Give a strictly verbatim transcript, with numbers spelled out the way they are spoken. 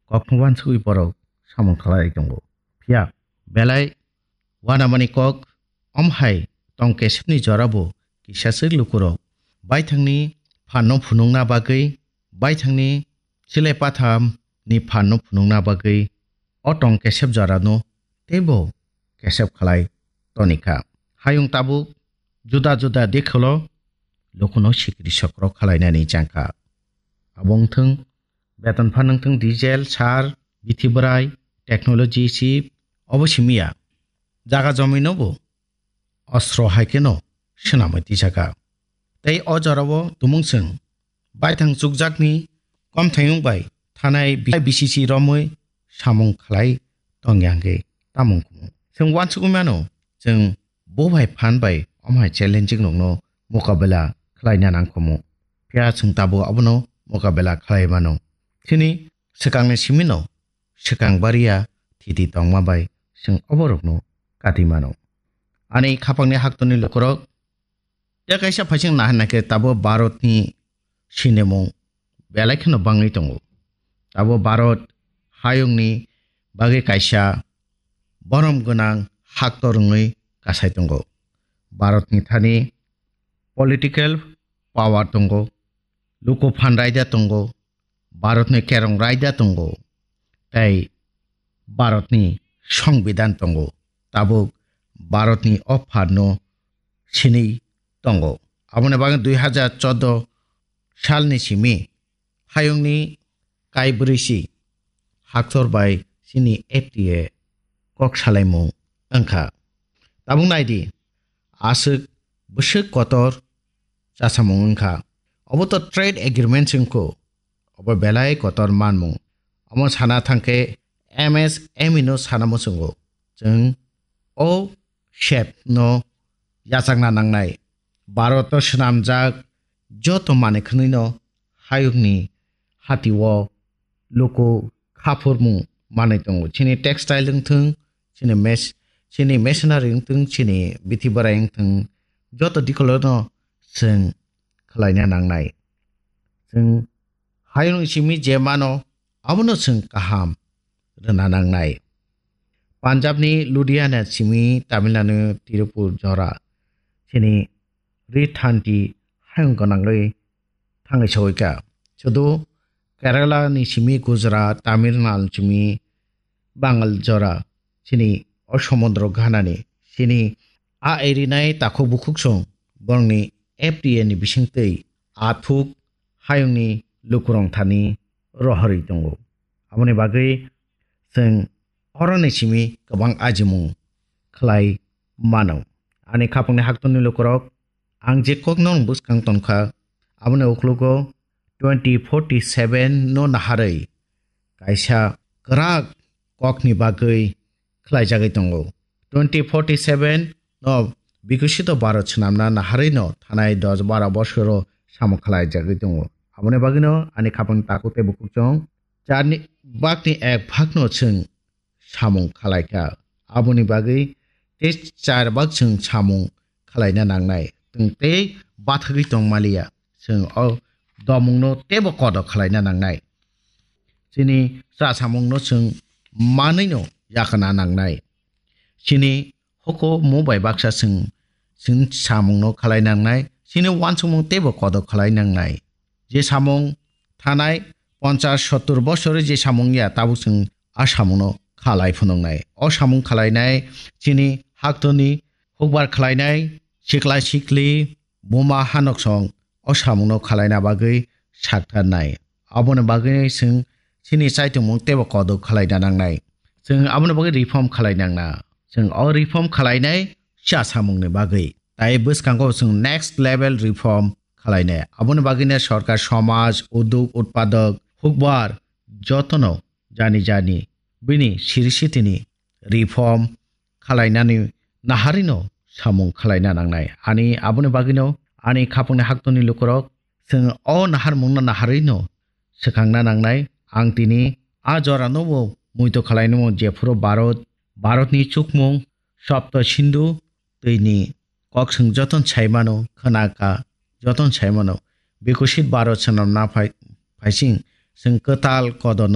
kokno wansugwi borok samung khlai tongo. Phiya belai uanamani kok, om hai tong kesepni jorabo kisaswk lukurok baithangni phanno phunukna bagwi, baithangni chilai pathamni phanno phunukna bagwi o tong kesep jorano teibo kesep khlai tonikha. Hayung tabuk juda juda dikholo lukuno sikri sokro khlainani changkha. Abo wngthwng beton phan wngthwng, diesel, sar, bithi bwrai, technology chip, obo simiya. Jaga jomino bo ostro hai kheno swnamwi twijakha. Tei o jorao tumung chwng baithang chukjakni komthayung bai thanai B C C romwi samung khlai tongya hwnkhe tamung kumu. Chwng uansugwi mano, chwng bo bai phan bai omo hai challenging rokno mokabela khlaina nangkhomu. Phiya chwng tabuk abono mokabela khlai mano. Chini swkangni simino swkang baria thiti tongma bai chwng oborokno kati mano. Ani khapangni haktorni lukurok, tei kaisa phaising naharnai khe tabuk Bharatni sinimung belai kheno bangwi tongo. Tabuk Bharat hayungni bagwi kaisa borom gwnang haktor wngwi kasai tongo. Bharatni thani political power tongo, luku phan raida tongo, Bharatni kerong raida tongo, tei Bharatni songbidan tongo. Tabuk Bharatni o phanno sinwi tongo. Aboni bagwi dui hajar chordo salni simi hayungni kaibrwi si haktor bai chini F T A kok salaimung wngkha. Tabuk naidi, aswk bwswk kotor chasamung wngkha. Obo to trade agreement se wngkho. Obo belai kotor manmung. Omo sana thangkhe M S M E no sana muchungo. Chwng o sep no yachakna nangnai. Bharat o swnamjak joto manwi khwnwi no hayungni hati o luku khaphurmung manwi tongo. Chini textile wngthwng, chini mes-, chini machinery wngthwng, chini bithi bwrai wngthwng, joto dikolono chwng khlaina nangnai. Chwng hayung simi je mano, abono chwng kaham rwna nangnai. Punjabni Ludhiana simi Tamil Nadu Tirupur jora chini ri thanti hayung gwnangwi thangwi sogwikha. Sudu Kerala ni simi Gujarat, Tamil Nadu simi Bangal jora chini o somudro ganani chini a erinai takhuk bukhuk song borokni F T A ni bisingtwi athuk hayungni lukurong thani rohorwi tongo. Aboni bagwi chwng oroni simi kwbang ajimung khlai mano. Ani khapangni haktorni lukurok, ang je kokno bwskang tongkha, aboni uklogo twenty forty seven no naharwi kaisa kwrak kokni bagwi khlaijagwi tongo. Twenty forty seven no Bikosito Bharat swnamna naharwi no thanai dos bara bosoro samung khlaijagwi tongo. Aboni bagwino ani khapang takhuk tei bukhukchong charni bakni ek bhagno chwng samung khlaikha. Aboni bagwi tei char bhag chwng samung khlaina nangnai. Chwng tei bathagwi tongmaliya. Chwng o domungno teibo kodo khlaina nangnai. Chini cha samungno chwng manwino yakana nangnai. Chini hukumu bai baksa chwng, chwng samungno khlai nangnai. Chini uansukmung teibo kodo khlai nangnai. Je samung thanai ponchas sottur bosori je samung ya, tabuk chwng a samungno khalai phunuknai. O samung khalainai chini haktorni hukbar khlainai sikla sikli buma hanoksong o samungno khalaina bagwi saktharnai. Aboni bagwi chwng chini chaitongmung teibo kodo khalaina nangnai. Chwng aboni bagwi reform khalai nangna. Chwng o reform khalainai cha samungni bagwi. Tai bwskango chwng next level reform khalainai. Aboni bagwino sorkar, somaj, uduk, utpadok, hukbar jotono jani jani bini siri sitini reform khalainani naharino samung khalaina nangnai. Ani aboni bagwino ani khapangni haktorni lukurok chwng o naharmungno naharino swkangna nangnai. Ang tini a jorano bo muito khalainimo, jephuru Bharat, Bharatni chukmung Sapta Sindhu twini kok chwng joton saimano, khwnaka joton saimano. Bikosit Bharat swnamna phai-, phaising chwng kwtal kodono